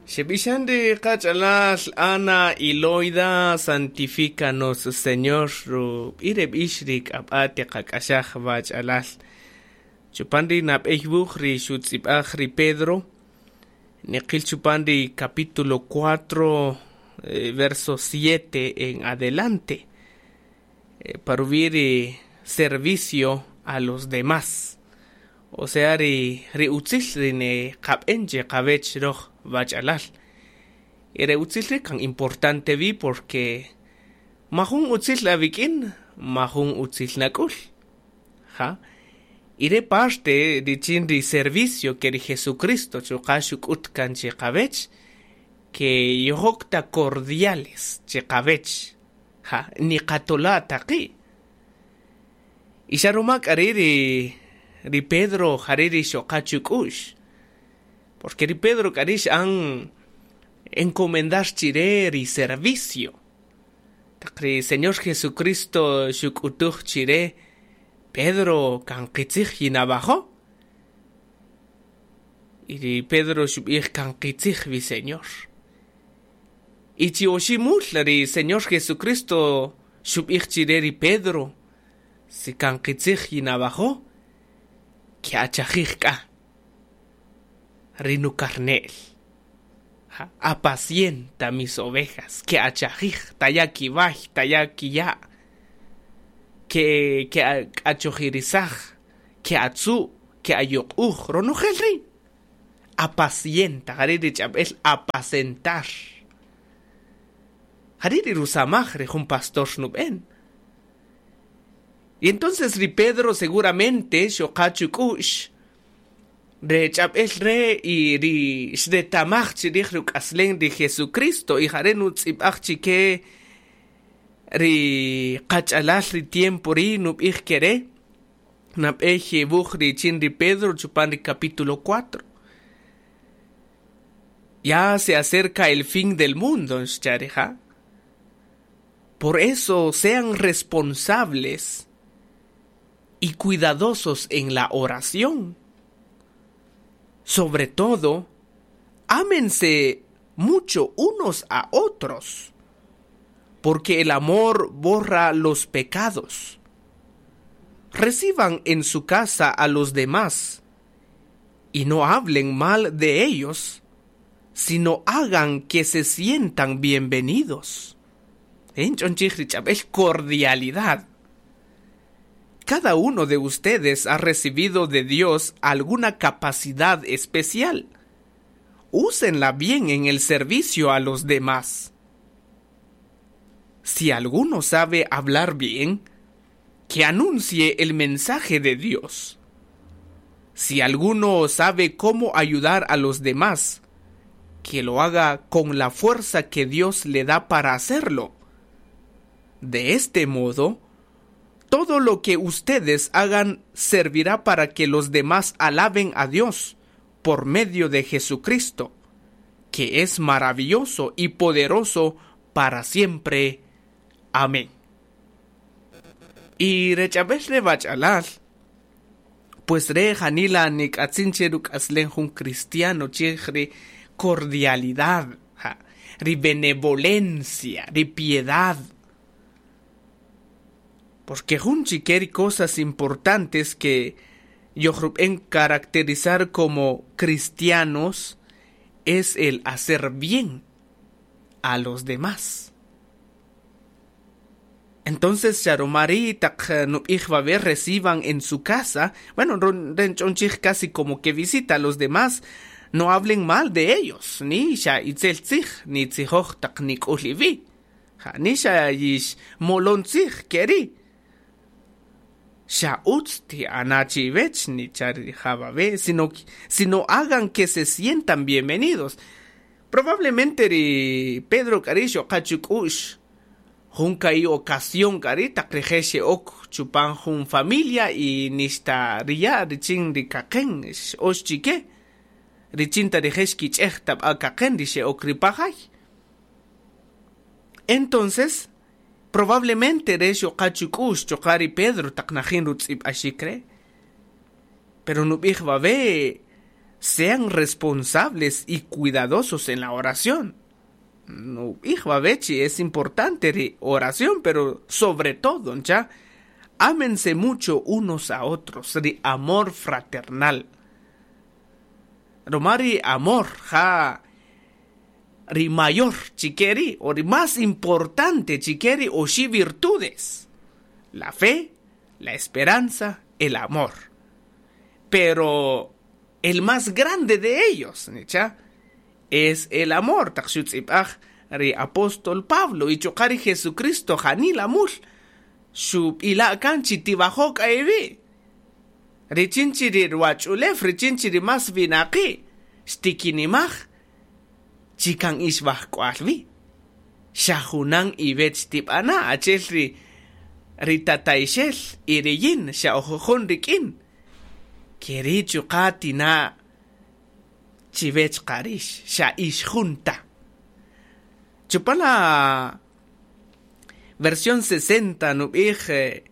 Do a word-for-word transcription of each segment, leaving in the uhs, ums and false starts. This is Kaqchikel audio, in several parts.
Xeb'ixan ri qach'alal Ana y Loida, santifícanos, Señor, rub'i reb'ix ri k'ab'a tiqak'axaj wach'alal. Chupan ri nab'ey wuj ri xutz'ib'aj ri Pedro, niqil chupan ri capítulo cuatro, eh, verso siete en adelante, eh, parub'i ri servicio a los demás. O sea, ri, ri utzil ri ne qab'en che qawech roj wach'alal. Y re utzil ri kan importante vi porque majun utzil awik'in, majun utzil nak'ul. Ja. Y re parte richin ri servicio que ri Jesucristo chuqa' xuk'ut kan che qawech, que yojok ta cordiales che qawech. Ja, ni qatola taqi. Y xa ruma k'a ri ri ri Pedro jare ri xoqa chuk'u'x. Porque ri Pedro k'a ri x'an encomendar chire ri servicio. Taq ri Señor Jesucristo xuk'utuj chire Pedro kan qitzij yinawajo'. Y ri Pedro xub'ij kan qitzij wi, Señor. Y chi oxi' mul ri Señor Jesucristo xub'ij chire ri Pedro si kan qitzij yinawajo', ke'achajij k'a ri nukarne'l. Ja, apacienta mis ovejas, ke'achajij, taya' kiway, taya' kiya', ke ke'achojirisaj, ke'atzu', ke'ayuq'uj, ronojel ri'. Apacienta, jare' ri ch'ab'el apacentar. Jare' ri rusamaj ri jun pastor nub'en. Y entonces ri Pedro seguramente xoqa chuk'u'x re ch'ab'el re y ri xretamaj chirij ruk'aslen ri Jesucristo y jare' nutz'ib'aj chike ri qach'alal ri tiempo ri nub'ij kere nab'ey wuj richin ri Pedro chupan ri capítulo cuatro. Ya se acerca el fin del mundo, xcha' rija'. Por eso sean responsables y cuidadosos en la oración. Sobre todo, ámense mucho unos a otros, porque el amor borra los pecados. Reciban en su casa a los demás y no hablen mal de ellos, sino hagan que se sientan bienvenidos. En cordialidad. Cada uno de ustedes ha recibido de Dios alguna capacidad especial. Úsenla bien en el servicio a los demás. Si alguno sabe hablar bien, que anuncie el mensaje de Dios. Si alguno sabe cómo ayudar a los demás, que lo haga con la fuerza que Dios le da para hacerlo. De este modo, todo lo que ustedes hagan servirá para que los demás alaben a Dios por medio de Jesucristo, que es maravilloso y poderoso para siempre. Amén. Y re ch'ab'el re wach'alal, pues re janila nik'atzin che ruk'aslen jun cristiano chij ri cordialidad, ja, ri benevolencia, ri piedad. Porque jun chike ri cosas importantes que yojrub'en caracterizar como cristianos es el hacer bien a los demás. Entonces, xa ruma ri taq nub'ij wawe' reciban en su casa, bueno, rench'onchij casi como que visita a los demás, no hablen mal de ellos, ni xa itzel tzij, ni tzijoj taq nik'ul iwi'. Ja, ni xa yix molon tzij keri. Xa utz ti'ana chiwech ni cha wawe', sino, sino hagan que se sientan bienvenidos. Probablemente ri Pedro k'ari xoqa chuk'u'x jun ka'i ocasión k'ari taq rije' xe'ok chupan jun familia y nixta riya' richin ri kaqen x'ox chike richin ta rije' xkich'ej tab'a kaqen ri xe'ok ri pajay. Entonces, probablemente re xoqa chuk'u'x chuqa' ri Pedro taq najin rutz'ib'axik re. Pero nub'ij wawe' Sean responsables y cuidadosos en la oración. No, bechi, es importante ri oración, pero sobre todo, ya, ámense mucho unos a otros, ri amor fraternal. Roma ri amor, ja, ri mayor chikeri, o ri más importante chikeri, oxi virtudes. La fe, la esperanza, el amor. Pero el más grande de ellos, ¿nicha? Es el amor. Taq xutz'ib'aj ri apóstol Pablo y chuqa' ri Jesucristo janila mul xub'ila' kan chi tibajok aewi richin chi ri ruwach'ulew richin chi ri mas winaqi' xtikinimaj chi kan ix wajk'wal wi xa junan iwech tib'ana' achel ri ri tatayxel y riyin xa oj jun rik'in keri chuqa' tina' chiwech qarix xa ix junta. Chupan la versión sesenta nub'ij eh,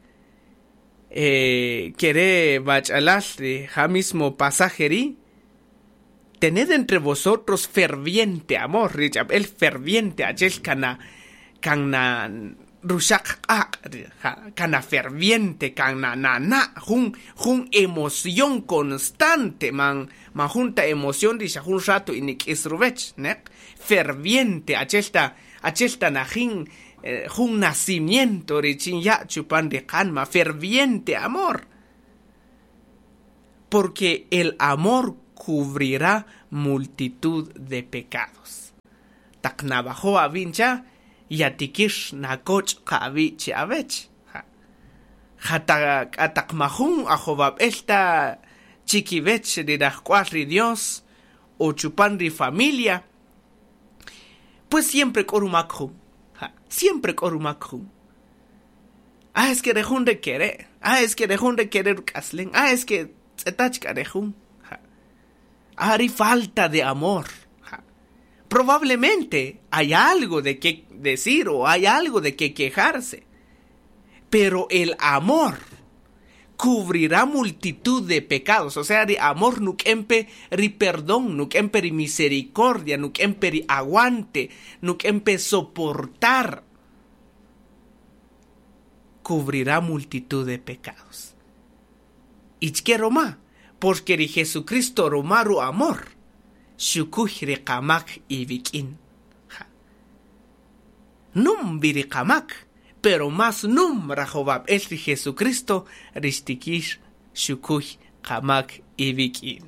eh, kere bach'alal ri ja mismo pasaje ri tened entre vosotros ferviente amor ri ch'ab'el ferviente achel kana kana ruxaq q'aq' kana ferviente kana na na jun jun emoción constante man man junta emoción ri xa jun rato inik'is ruwech neq ferviente achelta achelta najin eh, jun nacimiento richin ya' chupan ri qanma ferviente amor, porque el amor cubrirá multitud de pecados. Taq nawajo' awincha yatikir nakoch' qa awi' chi awech jata k'ataq majun ajowab'el ta chikiwech ri rajk'wal ri Dios o chupan ri familia, pues siempre k'o rumak jun, siempre k'o rumak jun. Ah, es que rejun rekere, ah, es que rejun rekere ruk'aslen, ah, es que tz'etach k'a rejun. Ah, ri falta de amor. Probablemente hay algo de qué decir o hay algo de qué quejarse, pero el amor cubrirá multitud de pecados. O sea, ri amor nuk'empe ri perdón, nuk'empe ri misericordia, nuk'empe ri aguante, nuk'empe soportar. Cubrirá multitud de pecados. ¿Y qué roma? Porque ri Jesucristo romaru amor. Xukuy ri qamak iwik'in. Num wi ri qamak, pero más num rajowab'el ri Jesucristo rixtikix xukuy qamak iwik'in.